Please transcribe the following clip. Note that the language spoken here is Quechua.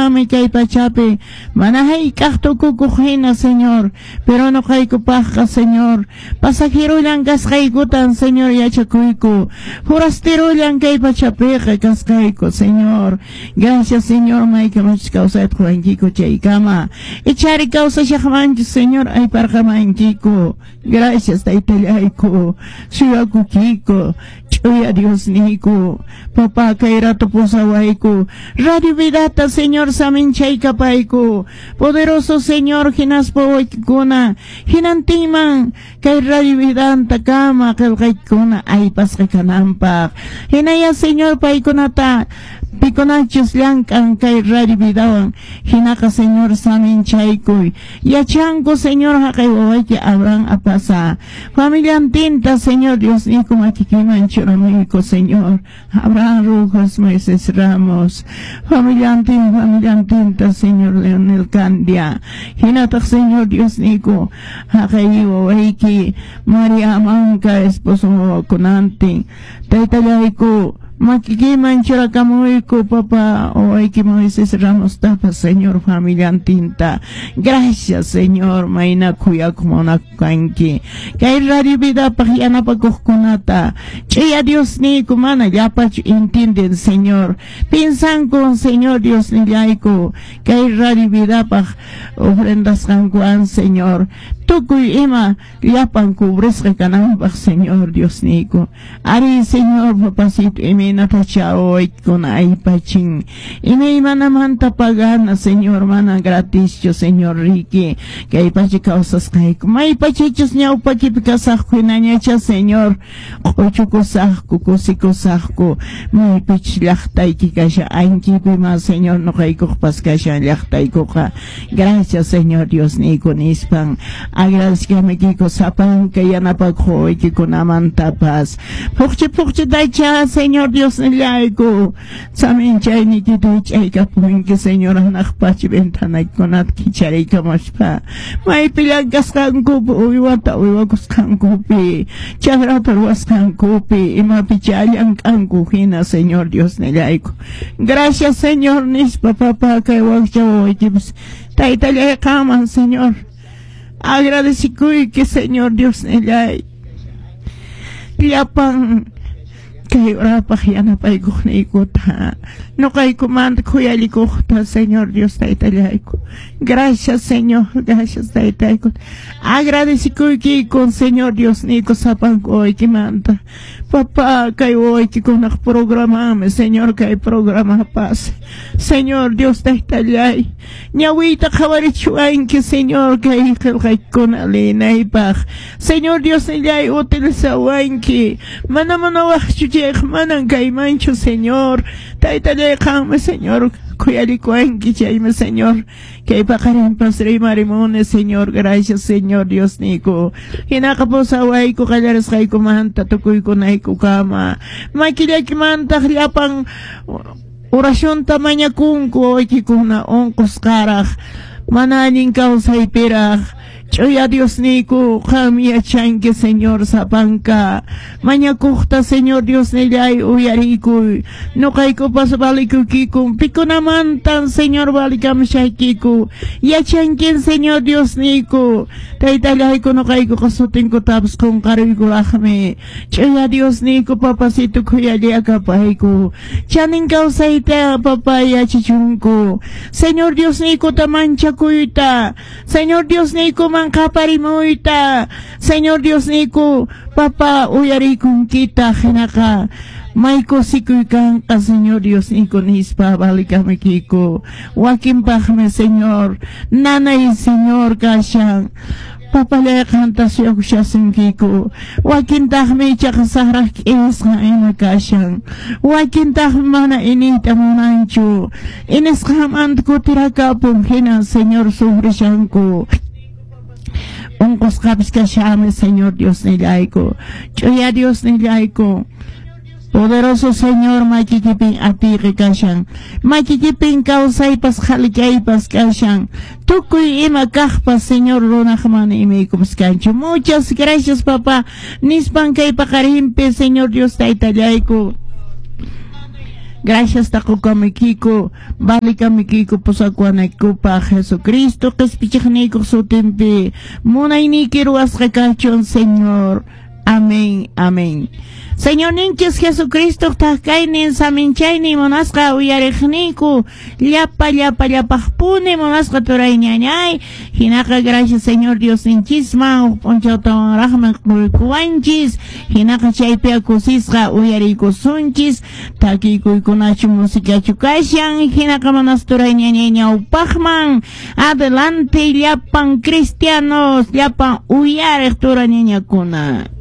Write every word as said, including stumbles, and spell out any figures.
Kay pachapi mana hayk'aq tukukuq hina, Señor, pero nuqaykupaqqa, Señor, pasajerullan kasqaykutan, Señor, yachakuyku, forasterullan kay pachapiqa kasqayku, Señor. Gracias, Señor, maykamachus kawsayta quwankiku chaykama, ichari kawsashaqmanchus, Señor, ayparqamankiku. Gracias, taytallayku, suyakukiku, ch'uya Diosniyku. Papá, kay rato pusawayku Radio Vidata, Señor, saminchaykapayku, poderoso Señor, hinaspa waykikuna hinantinman kay Radio Vidanta kama qillqaykuna aypasqa kananpaq. Hinaya, Señor, paykunata pikunachus llank'an kay Radio Vidawan, hinaqa, Señor, saminchaykuy. Yachanku, Señor, haqay wawayki Abraham Apasa familiantinta, Señor Dios niyku, makikiman churamuyku, Señor. Abraham Rojas, Moisés Ramos familiantin, familiantinta, Señor. Leonel Candia hinataq, Señor Dios niyku, haqay wawayki María Amanka esposo wawakunantin, taytallayku, makikiman churakamuyku. Papá, wawayki Moisés Ramos tapas, Señor, familiantinta. Gracias, Señor, mayna khuyakuq munakuq kanki. Kay Radio Vidapaq yanapakuqkunata, ch'uya Dios niyku, mana llapachu entienden, Señor, piensanku, Señor Dios nillayku, kay Radio Vidapaq ofrendasqankuwan, Señor, tukuy ima llapan cubrisqa kananpaq. Señor Dios niyku, ari, Señor, papacito, imaynatacha wawaykikuna aypachin, imaymanamanta pagana, Señor, mana gratischu, Señor, riki kay pacha kawsasqayku. Maypachichus ñawpakipi kasaqku hinañacha, Señor, q'uchukusaqku, kusikusaqku. Maypichus llaqtayki kashan, ankipima, Señor, nuqaykuqpas kashan llaqtaykuqa. Gracias, Señor Dios niyku, nispan agradecikamikiko sapanka yanapakuq wawaykikunamantapas. Phuqchi phuqchitacha, Señor Dios nillayku, saminchayniykita hich'aykapunki, Señor, hanaq pacha ventanaykikunata kichariykamuspa, maypi llank'asqankupi, uywata uywakusqankupi, chakrata ruwasqankupi, imapicha llank'anku hina, Señor Dios nillayku. Gracias, Señor, nispa, papá, kay wakcha wawaykipas, taytallay, qanman, Señor, agradecikuyki, Señor Dios nillay, llapan kay urapaq yanapaykuqniykuta, nuqaykumanta khuyallikuqta, Señor Dios taytallayku. Gracias, Señor, gracias, taytayku. Agradecikuykiku, Señor Dios niyku, sapanku wawaykimanta. Papá, kay wawaykikunaq programami, Señor, kay programapas, Señor Dios taytallay, ñawiyta qhawarichiwanki, Señor, kay qillqaykuna liyinaypaq. Señor Dios nillay, utilizawanki. Mana munawaqchu chayqa manan kaymanchu, Señor. Taytallay, qanmi, Señor, khuyallikuwanki, chaymi, Señor, kay paqarinpas rimarimuni, Señor. Gracias, Señor Dios niyku. Hinaqa pusawayku qallarisqaykumanta tukuykunaykukama. Makillaykimantaq llapan oracionta mañakunku wawaykikuna unqusqaraq, mana allin kawsaypiraq. Ch'uya Dios niyku, qam yachanki, Señor, sapanka mañakuqta. Señor Dios nillay, uyarikuy. Nuqaykupas valikuykiku. Pikunamantan, Señor, valikamushaykiku, yachankin, Señor Dios niyku. Taytallayku, nuqaykuqa sutinkutapas qunqaruykuraqmi. Ch'uya Dios niyku, papacito, khuyallakapayku. Chanin kawsayta, papá, yachachunku, Señor Dios niykuta manchakuyta, Señor Dios niykuman qaparimuyta. Señor Dios niyku, papá, uyarikunkita, hinaqa may kusikuy kanqa, Señor Dios niyku, nispa valikamuykiku. Wakinpaqmi, Señor, nanay, Señor, kashan. Papallay, qanta suyakushasunkiku. Wakintaqmi ichaqa saqraq k'irisqan ima kashan. Wakintaqmi mana iniyta munanchu, inisqanmanta kutirakapun, hina, Señor, sufrishanku. Unqusqapis kashanmi, Señor Dios nillayku. Ch'uya Dios nillayku, poderoso Señor, makikipin atiyqi kashan, makikipin kawsaypas qhalikaypas kashan, tukuy ima kaqpas, Señor, runaq mana imaykupas kanchu. Muchas gracias, papá, nispan kay paqarinpi, Señor Dios taytallayku. Gracias taqukamuykiku, valikamuykiku pusakuwanaykupaq Jesucristo qispichiqniykuq sutinpi. Munayniyki ruwasqa kachun, Señor. Amén, amén. Señorninchis Jesucristo thak-kaynin saminchaynin munasqa uyariqniyku llapa llapa llapaqpuni munasqa turay ñañay. Hinaqa gracias Señor Diosninchisman p'unchawtawanraqmi quykuwanchis. Hinaqa chaypi kusisqa uyariykusunchis takiykuykunachu musikachu kashan. Hinaqa munasqa turay ñañay ñawpaqman adelante llapan cristianos llapan uyariq tura ñañakuna.